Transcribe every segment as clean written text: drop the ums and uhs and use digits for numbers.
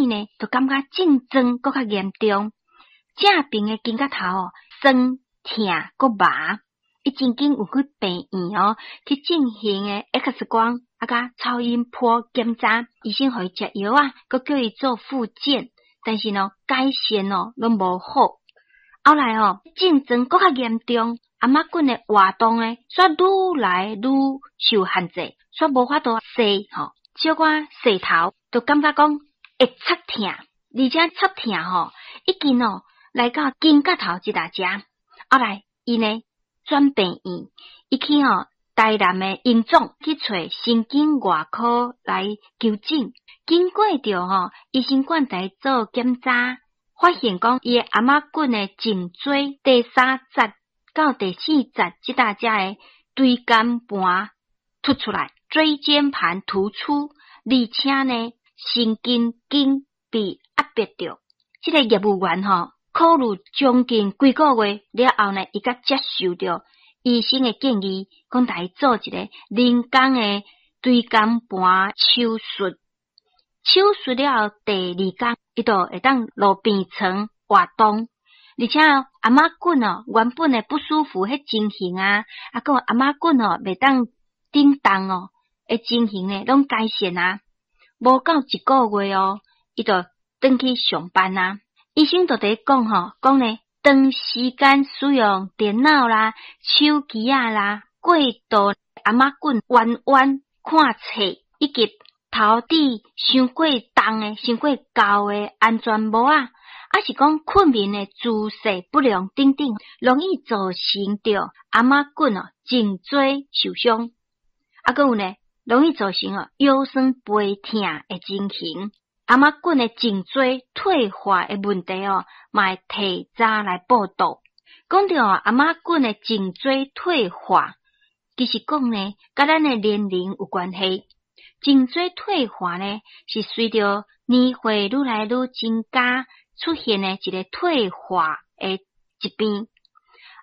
始呢，就感覺症狀閣較嚴重，正爿的肩胛頭哦，酸疼閣麻。伊真緊有去病院哦，去進行的 X 光啊，佮超音波檢查，醫生予伊食藥啊，閣叫伊做復健，但是呢，改善哦攏無好。後來哦，症狀閣較嚴重，頷仔骨的活動呢，煞愈來愈受限制，煞無法度踅吼，小可踅頭，就感覺講會插疼，而且插疼吼，已經哦來到肩胛頭這搭遮。後來伊呢，轉病院，伊去吼台南的榮總去揣神經外科來求診。經過著吼醫生管來做檢查，發現講伊的頷仔骨的頸椎第三節到第四節這搭遮的椎間盤突出來，椎間盤突出，而且呢神經筋被壓迫著。這個業務員吼，考慮將近幾個月了後呢，伊才接受著醫生的建議，講來做一個人工的椎間盤手術。手術了後第二工，伊就會當落病床活動，而且頷仔骨哦，原本的不舒服彼情形啊，啊，閣有頷仔骨哦袂當振動哦的情形呢，攏改善啊。無夠一個月哦，伊就轉去上班啊。醫生就佇講吼，講呢，長時間使用電腦啦、手機仔啦，過度頷仔骨彎彎看冊，以及頭戴傷過重的、傷過厚的安全帽仔，抑是講睏眠的姿勢不良等等，容易造成著頷仔骨哦頸椎受傷。啊，閣有呢，容易造成哦腰酸背疼的情形。頷仔骨的頸椎退化的問題哦，嘛會提早來報到。講著頷仔骨的頸椎退化，其實講呢，佮咱的年齡有關係。頸椎退化呢，是隨著年歲愈來愈增加出現的一個退化的疾病。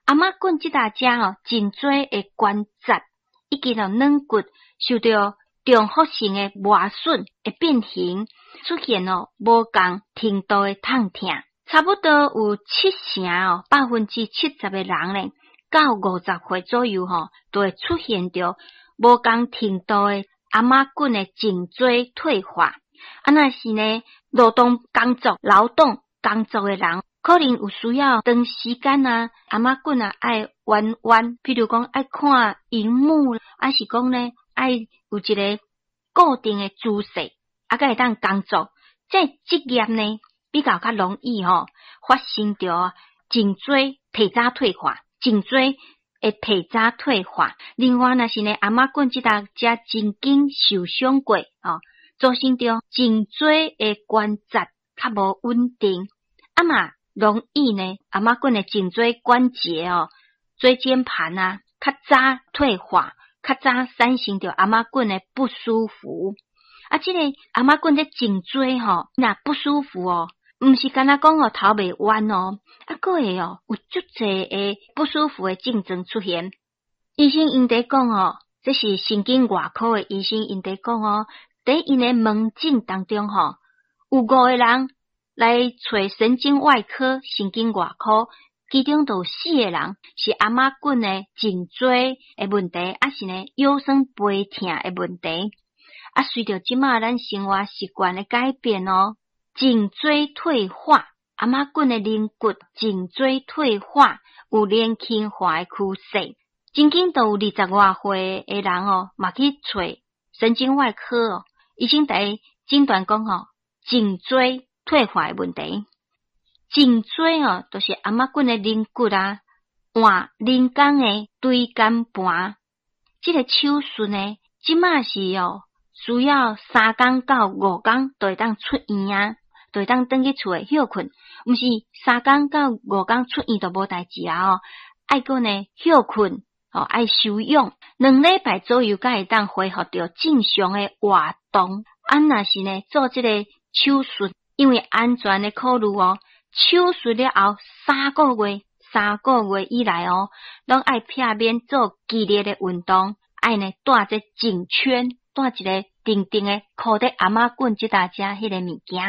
頷仔骨這搭遮哦，頸椎的關節以及哦軟骨受著重複性的磨損會變形，出現哦無仝程度的痛疼。差不多有七成哦，70%的人呢，到50歲左右吼，就會出現著無仝程度的頷仔骨的頸椎退化。啊，若是呢，勞動工作的人，可能有需要長時間啊，頷仔骨啊愛彎彎，譬如講愛看螢幕，抑是講呢愛有一個固定的姿勢，啊，才會當工作。這職業呢比較較容易吼發生著頸椎提早退化，頸椎會提早退化。另外，若是呢頷仔骨這搭遮曾經受傷過，吼，造成著頸椎的關節較無穩定，啊嘛容易呢頷仔骨的頸椎關節哦，椎間盤啊較早退化，較早產生著頷仔骨的不舒服。啊，這個頷仔骨這頸椎吼，若不舒服哦，毋是干焦講哦頭袂彎哦，啊，閣會哦有足濟的不舒服的症狀出現。醫生𪜶佇講哦，這是神經外科的醫生𪜶佇講哦，佇𪜶的門診當中吼，有五個人來揣神經外科、神經外科，其中就有四個人是頷仔骨的頸椎的問題，抑是呢腰酸背疼的問題。啊，隨著這馬咱生活習慣的改變哦，頸椎退化，頷仔骨的軟骨頸椎退化有年輕化的趨勢。曾經都有20外歲的人哦，嘛去揣神經外科哦，醫生佇診斷講吼，頸椎退化的問題。頸椎哦，就是頷仔骨的軟骨啊，換人工的椎間盤。這個手術呢，這馬是哦，需要3工到5工就會當出院啊，就會當轉去厝內歇睏。毋是3工到5工出院就無代誌啊哦，愛閣呢歇睏，哦愛休養2禮拜左右，才會當恢復著正常的活動。啊，若是呢做這個手術，因為安全的考慮哦，手術了後三個月，三個月以內哦，攏愛避免做激烈的運動，愛呢戴這頸圈，戴一個長長的箍佇頷仔骨這搭遮彼個物件。